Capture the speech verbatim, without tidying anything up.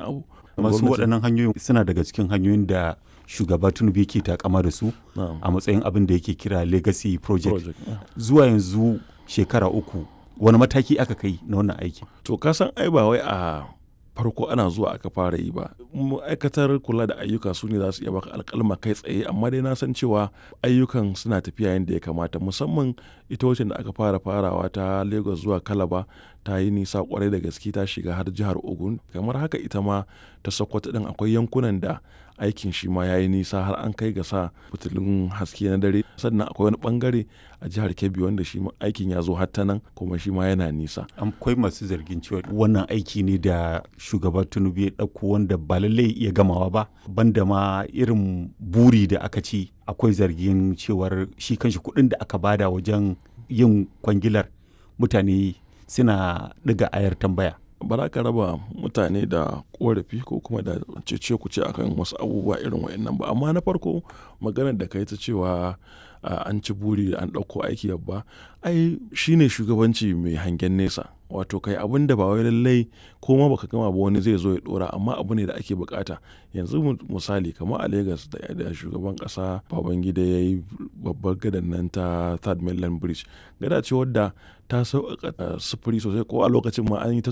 wani abu. Masu waɗannan hanyoyin suna daga cikin hanyoyin da shugaba Tinubu yake takama da su a matsayin abin da yake kira legacy project. Project, yeah. Zuwa yanzu shekara uku wani mataki aka kai na wannan aikin? To ka san ai ba wai a farko ana zuwa aka fara yi ba. Ma'aikatar kula da ayyuka su ne za su iya baka alƙalma kai tsaye amma dai na san cewa ayyukan suna tafiya yadda ya kamata musamman ita wacce da aka fara farawa ta Lagos zuwa Calabar ta yi nisa kwarai da gaske ta shiga har jihar Ogun kamar haka ita ma ta Sokoto din akwai yankunan da aikin shi ma ya yi nisa har an kai ga sa fitilun haske na dare sannan akwai wani bangare a jihar Kebbi wanda shi ma aikin ya zo har ta nan kuma shi ma yana nisa. Akwai masu zargin cewa wannan aiki ne da shugaba Tinubu ya ɗauko wanda ba lallai iya gamawa ba banda ma irin buri da aka ci akwai zargin cewar shi kanshi kuɗin da aka bada wajen yin kwangilar mutane suna ɗiga ayar tambaya. Ba za ka raba mutane da korafi ko kuma da cece kuce akan wasu abubuwa irin waɗannan ba amma na farko maganar da kai ta cewa an ci buri an ɗauko aiki babba ai shine shugabanci mai hangen nesa wato kai abin da ba wai lallai ko ma baka gama ba wani zai zo ya dora amma abu ne da ake bukata yanzu misali kamar a Lagos da shugaban kasa Babangida ya yi babbar gadan nan ta Third Mainland Bridge gada ce wadda ta sauƙaƙa sufuri sosai ko a lokacin ma an yi ta